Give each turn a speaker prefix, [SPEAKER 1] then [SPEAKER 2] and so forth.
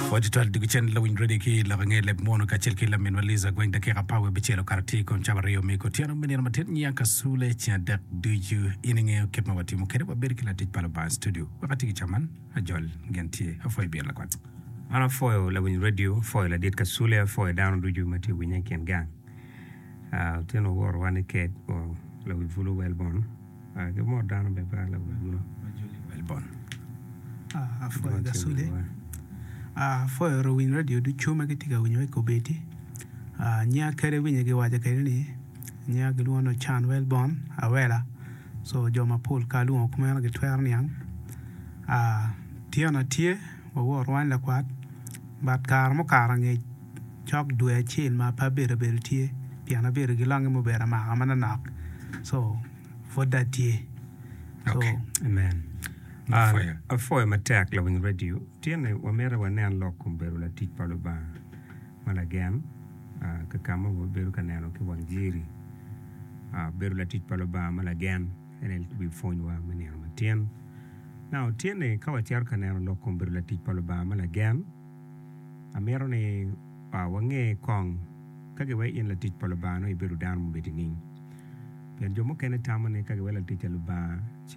[SPEAKER 1] Pwoc tutwal dwogo cen lawiny radio ki lok ange leb munu kacel ki laminwa Liza Gweng dakika apar wiye abicel okato tye i kom cawa aryo me otyeno me nino matin nyiya kasule ceng adek ducu in ingeyo kit ma watimo kwede wabedo ki latic pa Lubanga i studio wek ati ki caman ajol gin tye apwoyo bino lakwat.
[SPEAKER 2] An apwoyo lawiny radio, apwoyo ladit kasule, apwoyo dano ducu ma tye ka winye i kin gang. Otyeno worowa ni kec lawi bulu Welborn. Ki mot dano bene pe lawi bulu.
[SPEAKER 3] Apwoyo Gacule, apwoyo luwiny radio ducu ma gitye ka winyowa i kobedi. Nyinga kadi winyo giwaco kwede ni nyinga gilwongo ni Ocan Welborn Awela so jo mapol ka alwongo kumeno gitwero niang. Tyena tye wawor wany lakwat but kare mukato angec cok dwe acel ma pe abedo abedo tye pien abedo ki longe mubedo amaka manonok so pud dong atye so.
[SPEAKER 2] Amen. Apwoyo matek lawiny radio. Tyene wamito wanen lok kom bedo latic pa Lubanga ma lagen ka ka ma wabedo ka neno ki wang jiri. Bedo latic pa Lubanga ma lagen en aye wi pwonywa me nino matin. Now tyene ka wacito ka neno lok kom bedo latic pa Lubanga ma lagen, Amito ni wange kong ka giweko in latic pa Lubanga nongo ibedo dano mubedo nining. Pien jo mukene tamo ni ka giweko latic pa Lubanga ci.